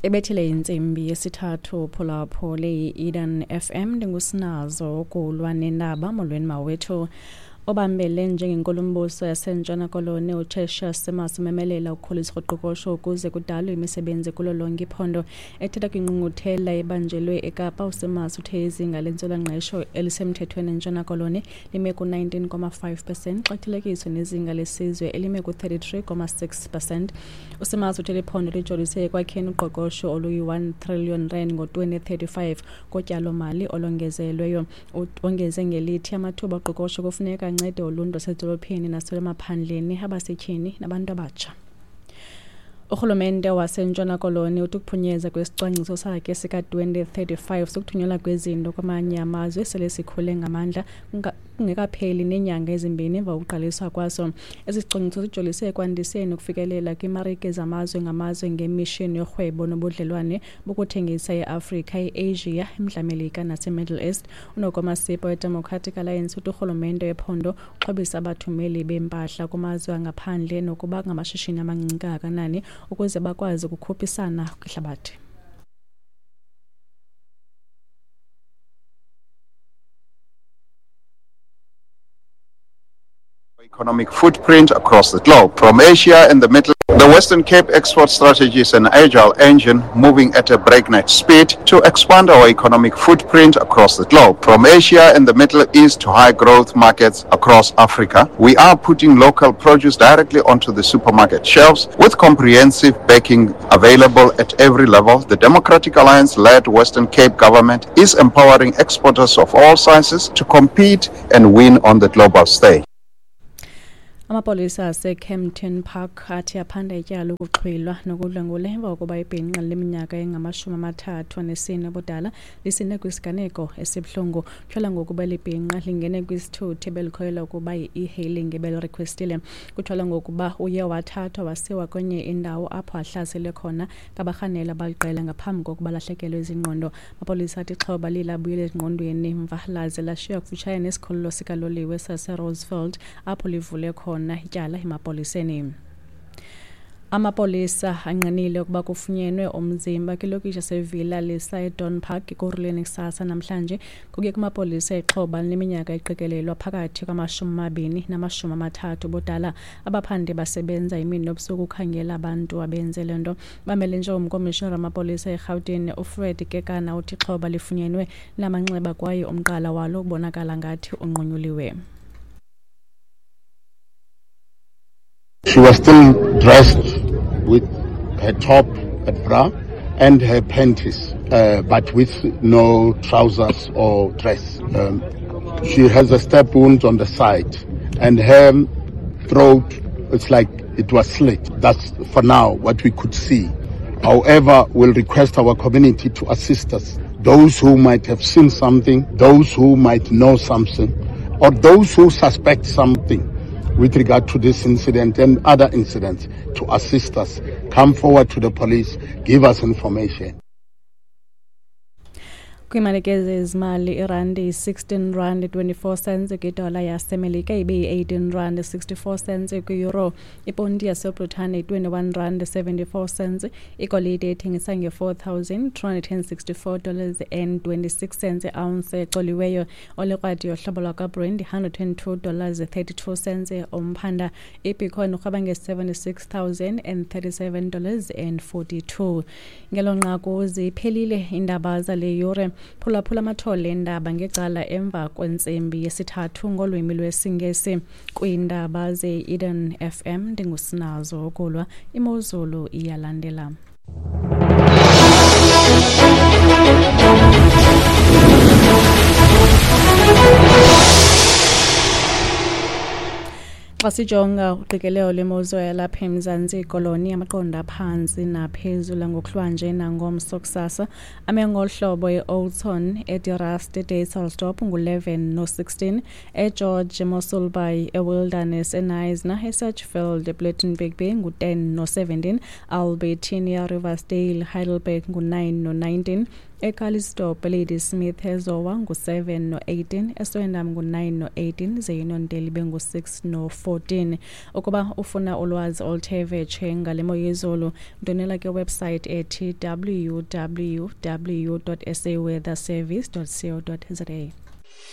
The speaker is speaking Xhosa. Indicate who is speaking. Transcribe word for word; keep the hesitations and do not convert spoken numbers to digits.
Speaker 1: Ebethile intsimbi yesithathu phulaphule i-Eden F M ndingusinazo ukulwa nendaba. Molweni mawethu. Obambele njengenkulumbuso yaseNtshona Koloni uTertuis Simmers umemelela ukukhuliswa koqoqosho ukuze kudalwe imisebenzi kulo lonke iphondo. Ethetha kwingqungquthela ebanjelwe eKapa, uSimmers uthe izinga lentswelangqesho elisemthethweni eNtshona Koloni lime ku-nineteen comma five percent xa kuthelekiswa nezinga lesizwe elime ku-thirty-three comma six percent. USimmers uthe liphondo lijolise ekwakheni uqoqosho oluyi-one trillion rand ngo-twenty thirty-five ngotyalomali olongezelweyo. Wongeze ngelithi amathuba oqoqosho kufuneka ancede uluntu lwasedolophini nasemaphandleni, abasetyhini nabantu abatsha. Urhulumente waseNtshona Koloni uthi ukuphunyezwa kwesicwangciso sakhe sika-twenty thirty-five sokuthunyelwa kwezinto kwamanye amazwe sele sikhule ngamandla kungekapheli neenyanga ezimbini emva kokuqaliswa kwaso. Esi sicwangciso sijolise ekwandiseni ukufikelela kwiimarike zamazwe ngamazwe ngemishini yorhwebo nobudlelwane bokuthengisa eAfrika, eAsia, eMntla Melika naseMiddle East. UNoko Masipa weDemocratic Alliance uthi urhulumente wephondo uxhobisa abathumeli beempahla kumazwe angaphandle nokuba ngamashishini amancinci kangakanani ukuze bakwazi ukukhuphisana kwihlabathi.
Speaker 2: Economic footprint across the globe, from Asia and the Middle. The Western Cape export strategy is an agile engine moving at a breakneck speed to expand our economic footprint across the globe, from Asia and the Middle East to high growth markets across Africa. We are putting local produce directly onto the supermarket shelves with comprehensive backing available at every level. The Democratic Alliance-led Western Cape government is empowering exporters of all sizes to compete and win on the global stage.
Speaker 1: Amapolisa aseKempton Park athi aphanda ityala lokuxhwilwa nokudlwengula emva kokuba ibhinqa leminyaka engamashumi amathathu anesine ubudala lisinde kwisiganeko esibuhlungu. Kutyholwa ngokuba eli bhinqa lingene kwisithuthi ebelikholelwa ukuba yi-e-hailing ebelirekhwestile. Kutyholwa ngokuba uye wathathwa wasiwa kwenye indawo apho ahlaselwe khona ngabarhaneli abaliqela ngaphambi kokuba alahlekelwe zingqondo. Amapolisa athi ixhoba liye labuyela ezingqondweni mva laze lashiywa kufutshane nesikhululo sikaloliwe saseRosefield apho livule khona ityala emapoliseni. Amapolisa angqinile ukuba kufunyenwe umzimba kwilokishi yaseVilla Lisa eDawn Park eKurhuleni kusasa namhlanje. Kuye kumapolisa ixhoba lineminyaka eqikelelwa phakathi kwamashumi amabini namashumi amathathu ubudala. Abaphandi basebenza imini nobusuku ukukhangela abantu abenze le nto. Bamele njengomkomishinara wamapolisa eRhawutini uFred Kekana uthi ixhoba lifunyenwe namanxeba kwaye umqala walo ubonakala ngathi unqunyuliwe.
Speaker 3: She was still dressed with her top and bra and her panties, uh, but with no trousers or dress. Um, she has a stab wound on the side, and her throat, it's like it was slit. That's for now what we could see. However, we'll request our community to assist us. Those who might have seen something, those who might know something, or those who suspect something with regard to this incident and other incidents, to assist us. Come forward to the police, give us information.
Speaker 1: Kwiimalike zezimali, irandi yi-sixteen rand twenty-four cents kwidola yaseMelika, ibe yi-eighteen rand sixty-four cents kwi-euro. Iponti yaseBritane yi-twenty-one rand seventy-four cents. Igolide ithengisa nge-four thousand two hundred and sixty-four dollars and twenty-six cents i-ounce ecoliweyo. Olekrwadi yohlobo lwakwaBrent yi-hundred and two dollars thirty-two cents umphanda. IBitcoin urhweba nge-seventy-six thousand and thirty-seven dollars and forty-two. Ngelo nqaku ziphelile iindaba zale yure. Phulaphula amathole eendaba ngecala emva kwentsimbi yesithathu ngolwimi lwesiNgesi. Kwiindaba ze-Eden F M ndingusinazo ukulwa. Imozulu iyalandela. Xa sijonga uqikelelo lwemozulu yalapha eMzantsi Koloni, amaqondo aphantsi naphezulu ngokuhlwanje nangomso kusasa ame ngolu hlobo: eOldton, eDe Rust, eDysselsdorp ngu-eleven no-sixteen, eGeorge, eMossel Bay, eWilderness, eKnysna, eSedgefield, ePlettenberg Bay ngu-ten no-seventeen, Albertinia, Riversdale, Heidelberg ngu-nine no-nineteen, eCalitzdorp, Ladysmith, eZowa ngu-seven no-eighteen, eSwellendam ngu-nine no-eighteen, ze iNonteli ibe ngu-six no-fourteen. Ukuba ufuna ulwazi oluthe vetshe ngale mo yezulu, ndwendwela ke website ethi w w w dot s a weather service dot co dot za.